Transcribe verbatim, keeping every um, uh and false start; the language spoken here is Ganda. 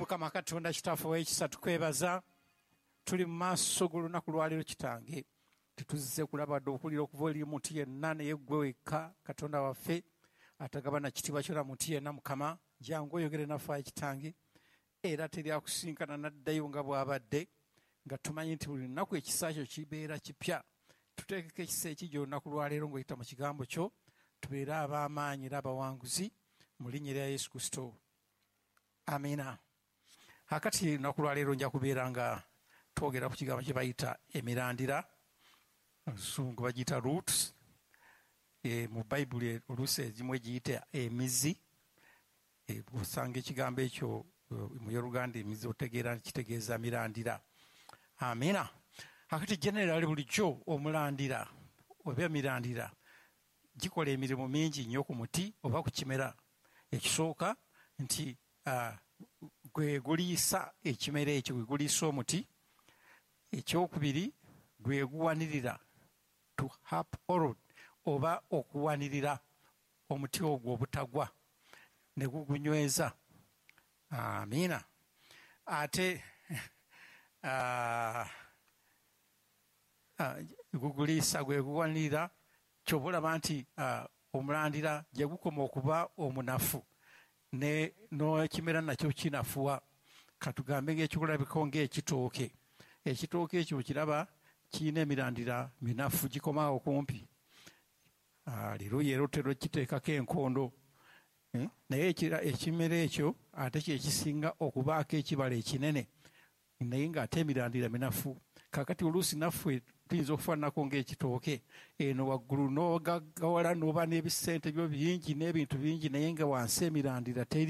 Mukama Katonda Kitaffe ow'ekisa, tukwebaza. Tuli mu maaso g'olunaku lwaleero Kitange. Tetuzze kulaba dde okuwulira okuva eri muntu yenna, naye ggwe wekka Katonda waffe atagabana kitiibwa kyona muntu yenna. Mukama, jangu oyogere naffe ayi Kitange, era teri akusinkana n'addayo nga bw'abadde, nga tumanyi nti buli lunaku ekisa kyo kibeera kipya. Tuteekeko ekisa ekijja olunaku lwaleero ng'oyita mu kigambo kyo, tubeere ab'amaanyi era abawanguzi mu linnya erya Yesu Kristo, amiina. Akati lunaku lwaleero nja kubeera nga twogera ku kigambo kye bayita emirandira, oluzungu bagiyita roots. E, mu Bayibuli oluusi ezimu egiyita emizi. E, osanga ekigambo ekyo mu Yoluganda emizi, otegeera nti kitegeeza mirandira. Amiina. Akati generali bulijjo omulandira oba emirandira gikola emirimu mingi nnyo ku muti oba ku kimera. Ekisooka nti uh, gwe guliisa ekimera ekyo, gwe guliisa omuti. Ekyokubiri, gwe guwanirira, to uphold oba okuwanirira omuti ogwo obutagwa ne gugunyweza. Amiina. Ate uh, uh, guguliisa, gwe guwanirira. Kyoba olaba nti uh, omulandira gye gukoma okuba omunafu, n'ekimera nakyo kinafuwa. Katugambe ng'ekyokulabiko ng'ekitooke, ekitooke ekyo kiraba kirina emirandira minafu, gikomaawo kumpi. Aleluya! Era otera okiteekako enkondo, eh? Naye ekimera ekyo ate kyekisinga okubaako ekibala ekinene, naye ng'ate emirandira minafu. Kakati oluusi naffe tuyinza okufaananako ng'ekitooke eno waggulu n'ogaggawala n'oba n'ebisente byo bingi n'ebintu bingi, naye nga wansi emirandira teri.